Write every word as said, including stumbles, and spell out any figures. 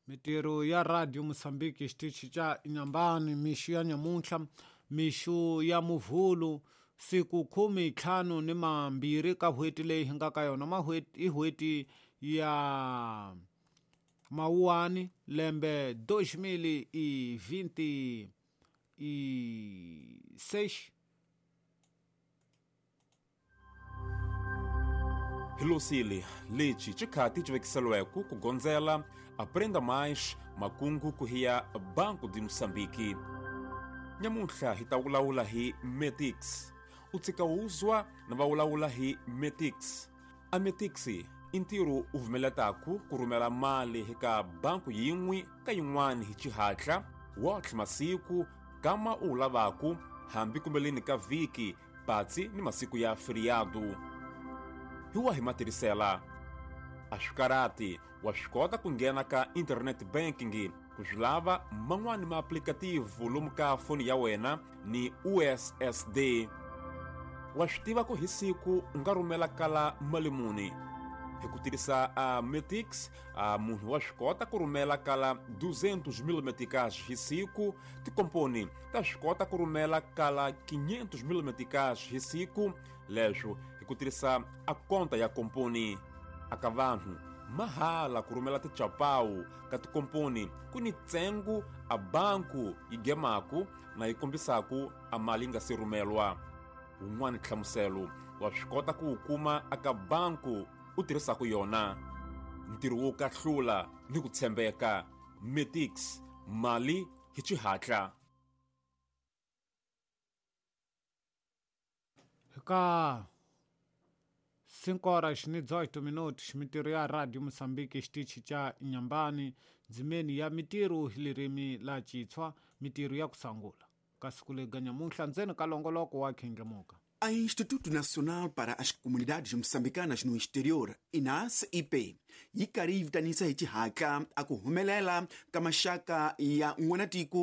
Mitirho ya Radio Mozambique xitichi xa Inhambane mixo ya nyamuntlha mixo ya Muvhulu siku khume ntlhanu ni mambirhi ka n'hweti leyi hi nga ka yona i n'hweti ya Mawuwani lembe dois mil e vinte e seis. Hilosile lexi xikhati xi vekiseliweke ku gondzela Aprenda Mais makungu ku hiya Banco de Moçambique. Nyamuntlha hi ta vulavula hi Metix. U tshika wuzwa na va vulavula hi Metix. A Metix i ntirho u vumeletaku ku rhumela mali eka banku yin'we ka yin'wana hi xihatla wotlhe masiku kama u wu lavaku hambi kumbeleni ka vhiki patsi ni masiku ya feriado. Hi wa hi matirhisela a swi karati wa swi kota ku nghena ka internet banking ku swi lava man'wani maaplikativu lomu ka foni ya wena ni U S S D. Wa swi tiva ku hi siku u nga rhumela kala mali muni hi ku tirhisa a Metix. A munhu wa swi kota ku rhumela kala duzentos mil meticais hi siku. Tikomponi ta swi kota ku rhumela kala quinhentos mil meticais hi siku, leswo hi ku tirhisa a konta ya komponi. Aka vanhu mahala ku rhumela tichapawu ka tikomponi ku ni ntsengo a banku yi gemaku na yi kombisaku a mali yi nga se rhumelwa. Wun'wani nhlamuselo wa swi kota ku wu kuma aka banku u tirhisaku yona. Ntirho wo kahlula ni ku tshembeka. Metix, mali hi xihatla. Ka cinco horas ni dezoito minutos mitirho ya Radio Mozambique xitichi xa Inhambane ndzimeni ya mitirho hi ririmi la Xitswa mitirho ya ku sangula ka siku lega nyamuntlha ndzeni ka longoloko wa Khindlemuka. A Instituto Nacional para as Comunidades Moçambicanas no Exterior, I N A S I P, yi karhi yi vitanisa hi xihatla a ku humelela ka maxaka ya n'wanatiko